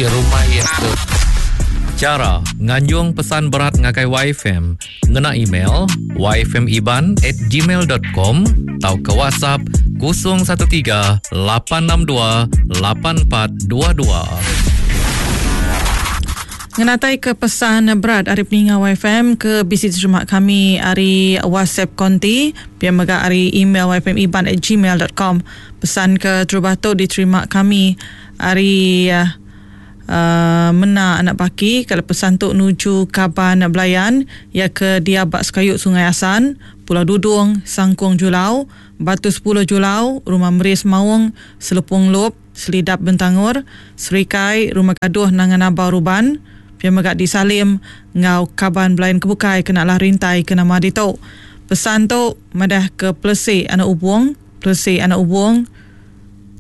Rumah iya tu. Chara nganjung pesan berat ngagai YFM ngena email yfmiban at gmail dot com tauka WhatsApp 013 862 8422. Ngenatai ke pesan berat ari peninga YFM ke bisi diterima kami ari WhatsApp konti pia mega ari email yfmiban at gmail dot com. Pesan ke terubah tu diterima kami Ari Mena anak Baki kala pesan tu nuju kaban belayan iya ke diau ba sekayu Sungai Asan, Pulau Dudung, Sangkung Julau, Batu sepuluh Julau, Rumah Meris Maung, Selepung Lup, Selidap Bentangor, Serikai, Rumah Gaduh Nanga Nabau Ruban, pia mega di Salim enggau kaban belayan ke bukai kena lah rintai ke nama ditu. Pesan tu madah ke Pelesi anak Ubong, Pelesi anak Ubong,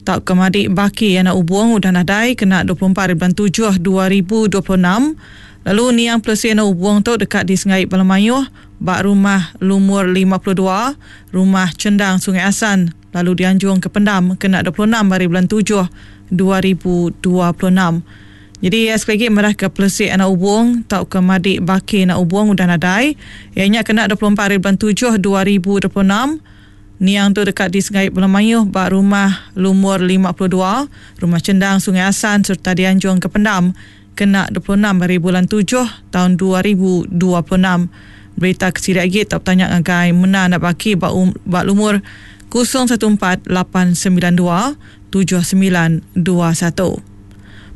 Tauka madi Baki anak Ubong udah nadai kena 24 ari bulan tujuh 2026 lalu niang Pelesi anak Ubong tu deka disengai bala mayuh ba rumah lumur 52 Rumah Chendang Sungai Asan lalu dianjung ke pendam kena 26 ari bulan tujuh 2026. Nyadi sekali agi madahka Pelesi anak Ubong tauka madi Baki anak Ubong udah nadai iya nya kena 24 ari bulan tujuh 2026. Niang tu deka disengai bala mayuh ba rumah lumur 52, Rumah Chendang Sungai Asan sereta dianjung ke pendam kena 26 hari bulan tujuh taun 2026. Berita ke silik agi tau betanya ngagai Mena Anak Baki ba ba lumur 014 892 7921.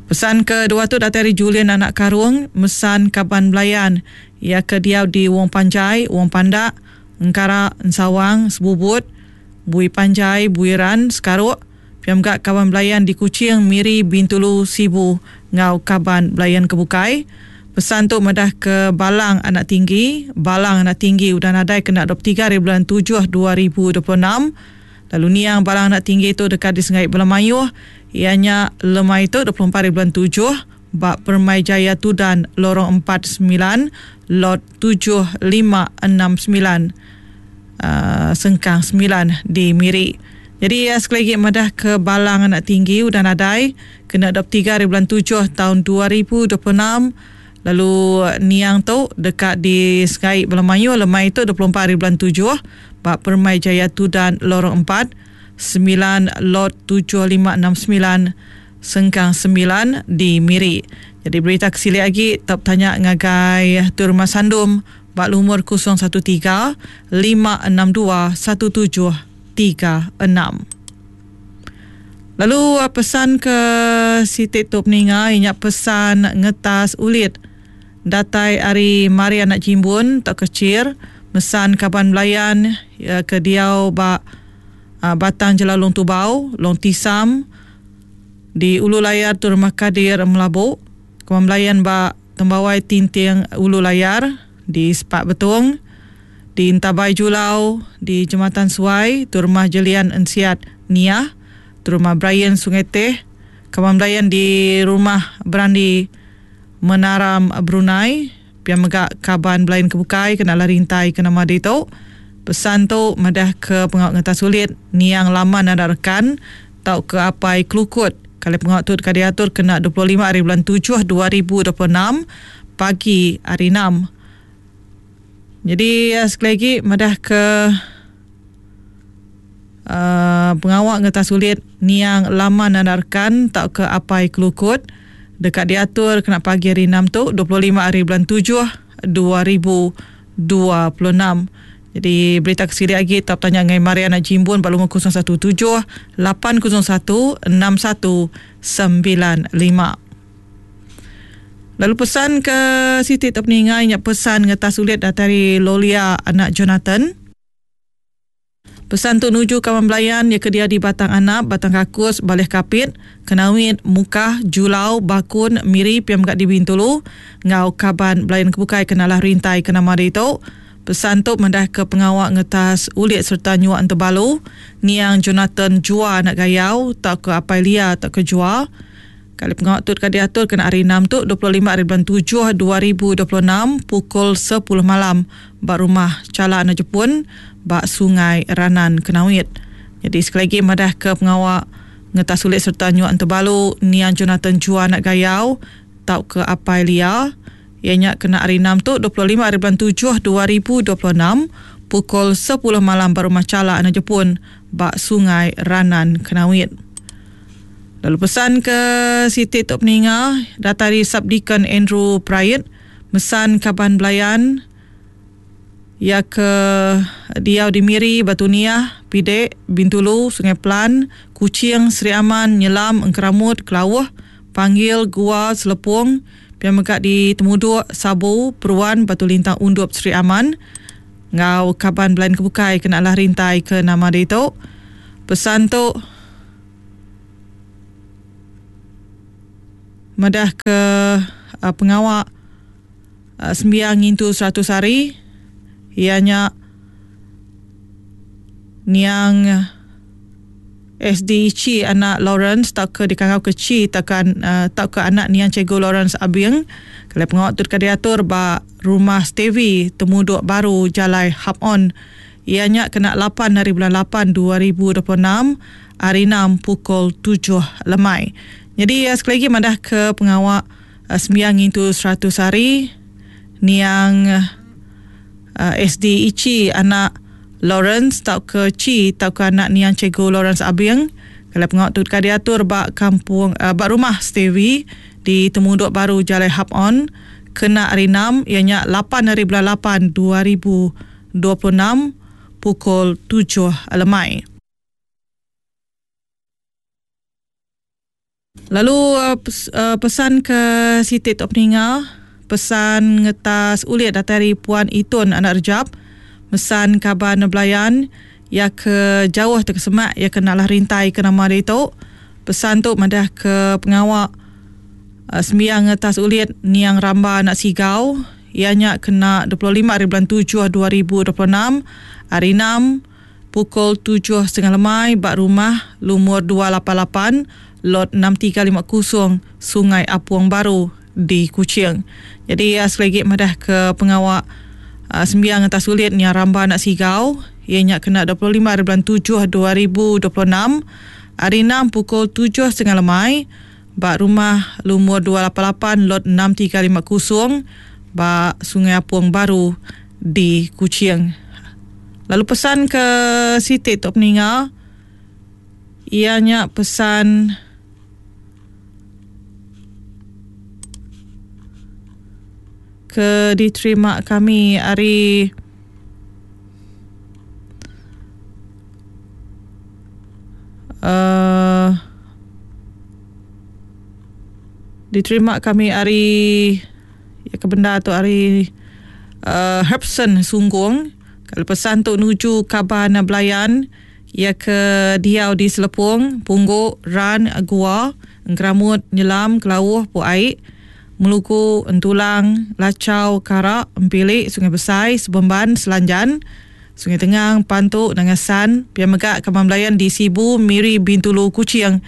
Pesan ke dua tu datai ari Julian Anak Karung, mesan kaban belayan iya ke diau di Wong Panjai, Wong Pandak, Engkara, Ensawang, Sebubut, Bui Panjai, Buiran, Sekaruk, pia mega kaban belayan di Kuching, Miri, Bintulu, Sibu enggau kaban belayan ke bukai. Pesan tu madah ke Balang Anak Tinggi, Balang Anak Tinggi udah nadai kena 23 hari bulan tujuh 2026 lalu niang Balang Anak Tinggi tu deka disengai bala mayuh iya nya lemai tu 24 hari bulan tujuh ba Permai Jaya Tudan Lorong empat semilan Lot 7569 Sengkang semilan di Miri. Nyadi iya sekali agi madah ke Balang Anak Tinggi udah nadai kena 23 hari bulan tujuh taun 2026 lalu niang tu deka disengai bala mayuh lemai tu 24 hari bulan tujuh ba Permai Jaya Tudan Lorong empat semilan Lot 7569 Sengkang semilan di Miri. Jadi berita ke silik agi tau betanya ngagai Tuai Rumah Sandum ba lumur 013 562 1736. Lalu pesan ke siti tu peninga iya nya pesan ngetas ulit datai ari Mari Anak Jimbun tauka Chir mesan kaban belayan ke diau ba Batang Jelau Long Tubau, Long Tisam, Di Ulu Layar tu Rumah Kadir Melabu, Kemang Belayan ba Tembawai Tinting Ulu Layar, di Sepak Betong, di Entabai Julau, di Jematan Suai tu Rumah Jelian Ensiat Niah, tu Rumah Brian Sungai Teh, Kemang Belayan di Rumah Berandi Menaram Brunei, pia mega kaban belayan ke bukai kena lah rintai ke nama ditu. Pesan tu madah ke pengawa ngetas ulit niang laman anak rekan tauka apai kelukut kali pengawa tu deka diatur kena 25 hari bulan tujuh 2026 pagi hari enam. Nyadi sekali agi madah ke uhh pengawa ngetas ulit niang laman anak rekan tauka apai kelukut deka diatur kena pagi hari enam tu 25 hari bulan tujuh 2026. Jadi berita ke silik agi tau betanya ngagai Mariana Jimbun ba lumur 017 801 6195. Lalu pesan ke siti tau peninga nya pesan ngetas ulit datai ari Lolia anak Jonathan. Pesan tu nuju kaban belayan iya ke diau di Batang Anap, Batang Kakus, Baleh Kapit, Kenawit, Mukah, Julau, Bakun, Miri pia mega di Bintulu enggau kaban belayan ke bukai ke nalah rintai ke nama ditu. Pesan tu madahka pengawa ngetas ulit sereta nyuak entebalu niang Jonathan Jua anak Gayau tauka Apai Lia tauka Jua. Kali pengawa tu deka diatur kena hari Enam tu, 25 hari bulan tujuh 2026 pukul sepuluh malam ba Rumah Chala Anak Jepun ba Sungai Ranan Kenawit. Nyadi sekali agi madahka pengawa. Ngetas ulit sereta nyuak entebalu niang Jonathan Jua anak Gayau tauka Apai Lia iya nya kena hari Enam tu 25 hari bulan tujuh 2026 pukul sepuluh malam ba Rumah Chala Anak Jepun ba Sungai Ranan Kenawit. Lalu pesan ke siti tu peninga datai ari Subdeacon Andrew Prait mesan kaban belayan Iya ke diau di Miri, Batu Niah, Pidek, Bintulu, Sungai Pelan, Kuching, Sri Aman, Nyelam, Engkeramut, Kelauh, Panggil, Gua, Selepong, pia mega di Temuduk, Sabu, Peruan, Batu Lintang Undup, Sri Aman enggau kaban belain ke bukai kena alah rintai ke nama ditu. Pesan tu madah ke pengawa Sembiang ngintu 100 hari iya nya niang SD Chi anak Lawrence tauka dikangau ke Chi tauka tauka anak niang Cikgu Lawrence Abing. Kelai pengawa tu deka diatur ba Rumah Stevie Temudok Baru Jalai Hap On. Iya nya kena lapan hari bulan lapan 2026 hari enam pukul tujuh lemai. Nyadi sekali agi madah ke pengawa Sembiang ngintu 100 hari niang SD Ichi anak Lawrence tauka Chi tauka anak niang Cikgu Lawrence Abing. Kelai pengawa tu deka diatur ba kampung ba rumah Stevie di Temudok Baru Jalai Hap On kena hari enam iya nya lapan hari bulan lapan 2026 pukul tujuh lemai. Lalu pesan ke siti tu peninga, pesan ngetas ulit datai ari Puan Itun anak Rejab, mesan kaban belayan iya ke jauh tauka semak iya ke nalah rintai ke nama ditu. Pesan tu madah ke pengawa sembiang ngetas ulit niang Ramba anak Sigau iya nya kena 25 ari bulan tujuh 2026 hari enam. Pukul tujuh setengah lemai ba rumah lumur 288 Lot 6350 Sungai Apung Baru di Kuching. Nyadi iya sekali agi madah ke pengawa sembiang atas ulit nya Ramba anak Sigau iya nya kena 25 hari bulan tujuh 2026 hari enam pukul tujuh setengah lemai ba rumah lumur 288 Lot 6350 ba Sungai Apung Baru di Kuching. Lalu pesan ke siti tu peninga iya nya pesan ke diterima kami ari uhh diterima kami ari Iya ke bendar tu ari uhh Herbson Sunggung. Kalau pesan tu nuju kaban belayan iya ke diau di Selepong, Punggu, Ran, Gua, Engkeramut, Nyelam, Kelauh, Puk Ai, Melugu, Entulang, Lachau, Kara, Empili, Sungai Besai, Sebemban, Selanjan, Sungai Tengang, Pantu, Nanga San, pia mega kaban belayan di Sibu, Miri, Bintulu, Kuching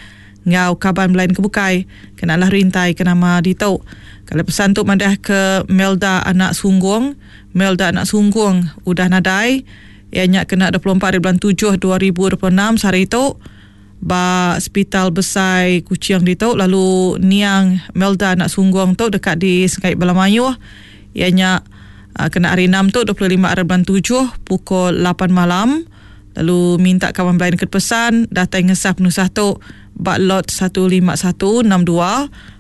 enggau kaban belayan ke bukai kena alah rintai ke nama ditu. Kala pesan tu madah ke Melda anak Sunggung, Melda anak Sunggung udah nadai iya nya kena 24 hari bulan tujuh 2026 sehari tu ba Sepital Besai Kuching ditu lalu niang Melda anak Sunggung tu deka disengkai bala mayuh iya nya kena hari enam tu 25 hari bulan tujuh pukul lapan malam. Lalu minta kaban belayan ke pesan datai ngesah penusah tu ba Lot 15162,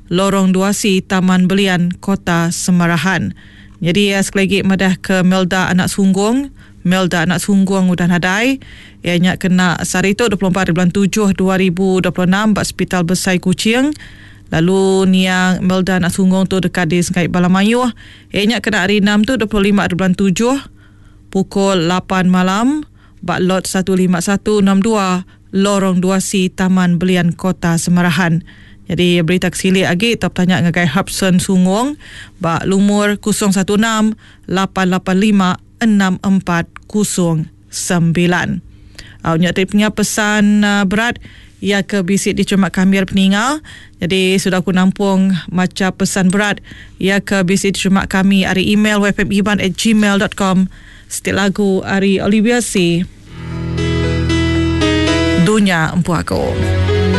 Lorong 2C, Taman Belian, Kota Semarahan. Nyadi iya sekali agi madah ke Melda anak Sunggung, Melda anak Sunggung udah nadai, iya nya kena sehari tu 24 hari bulan tujuh 2026 ba Sepital Besai Kuching. Lalu niang Melda anak Sunggung tu deka disengkai bala mayuh, iya nya kena hari enam tu 25 hari bulan tujuh, pukul lapan malam ba Lot 15162 Lorong 2C Taman Belian Kota Semarahan. Nyadi berita ke silik agi tau betanya ngagai Harbson Sungong ba lumur 016 885 6409. Au nya ti punya pesan berat iya ke bisi diterima kami ari peninga. Jadi sudah aku nampung macha pesan berat iya ke bisi diterima kami ari email yfmiban@gmail.com. Siti lagu ari Olivia C. Dunya Empu Aku.